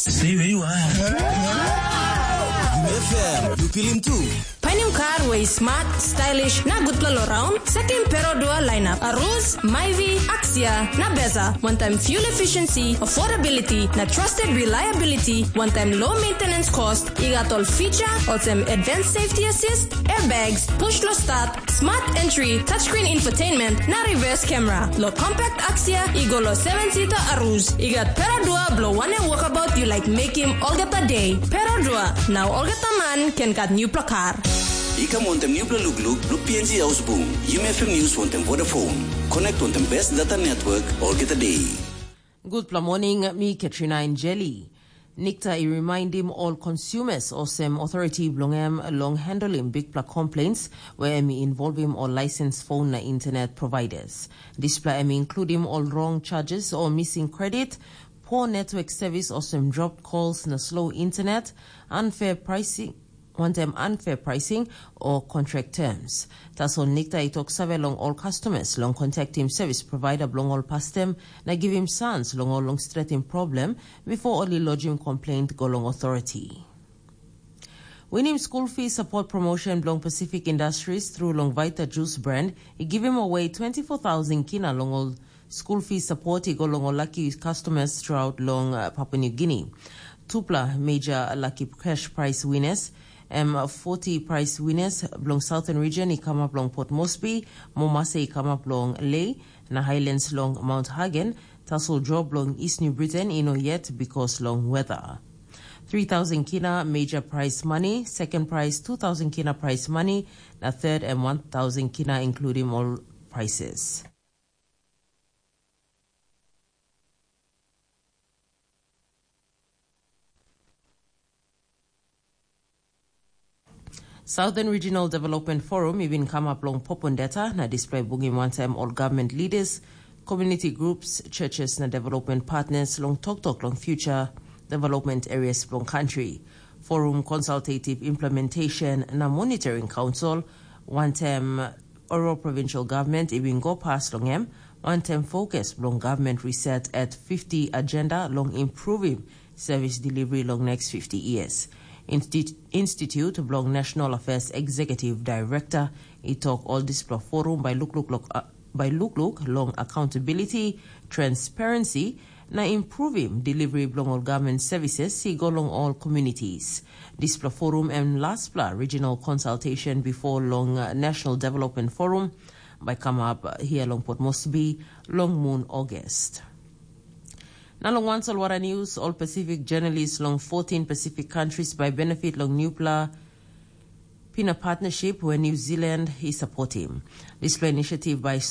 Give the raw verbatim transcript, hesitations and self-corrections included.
Stay where you are. F M, you feel him too. Painim kar wey smart, stylish, na gutpela lo raun? Sekim Perodua lineup. Aruz, Myvi, Axia, na Beza. One time fuel efficiency, affordability, na trusted reliability. One time low maintenance cost. I gat ol feature, olsem advanced safety assist, airbags, push lo start, smart entry, touchscreen infotainment, na reverse camera. Lo compact Axia, i go lo seven seater Aruz. I gat Perodua blo wanem walkabout you like make him olgeta day. Perodua, now olgeta man can gat new kar. I kam wantem nupela lukluk blo P N G Haus Bung. Yumi F M News wantem Vodafone. Connect wantem best data network olgeta day. Gutpela morning, mi Katrina Injeli. Nikta i rimaindim ol consumers olsem authority bilong em long handling bikpela complaints where em i involvim ol license phone na internet providers. Dispela em i includim ol wrong charges o missing credit, poor network service olsem dropped calls na slow internet, unfair pricing, wantem unfair pricing o contract terms. Tasol Nikta i tok save long ol customers long contactim service provider bilong ol pastem na givim sans long ol long stretim problem before ol i lodgim complaint go long authority. Winim school fee support promotion bilong Pacific Industries through long Vita Juice brand i givim away twenty-four thousand kina long ol school fee support i go long ol lucky customers throughout long uh, Papua New Guinea. Tupla major lucky cash prize winners, em forty prize winners bilong Southern Region i come up long Port Moresby, Momase i come up long Lae, na Highlands long Mount Hagen. Tasol draw bilong East New Britain i no yet because long weather. Three thousand kina major prize money, second prize two thousand kina prize money, na third and one thousand kina including all prices. Southern Regional Development Forum i bin kamap long Popondeta na display bungim wantaim ol government leaders, community groups, churches na development partners long toktok long future development areas bilong country. Forum Consultative Implementation na Monitoring Council, wantaim Oro Provincial Government i bin go pas long em, wantaim fokus bilong government reset at fifty agenda long improving service delivery long next fifty years. Insti- Institute bilong National Affairs Executive Director i tok ol dispela forum by lukluk, lok, uh, by lukluk long accountability, transparency, na improving delivery bilong ol government services i go long all communities. Dispela forum em lastpela regional consultation before long uh, National Development Forum by come up uh, here long Port Moresby long moon August. Na long wan solwara news, all Pacific journalists long fourteen Pacific countries by benefit long newpela Pina partnership where New Zealand is supporting. Dispela initiative by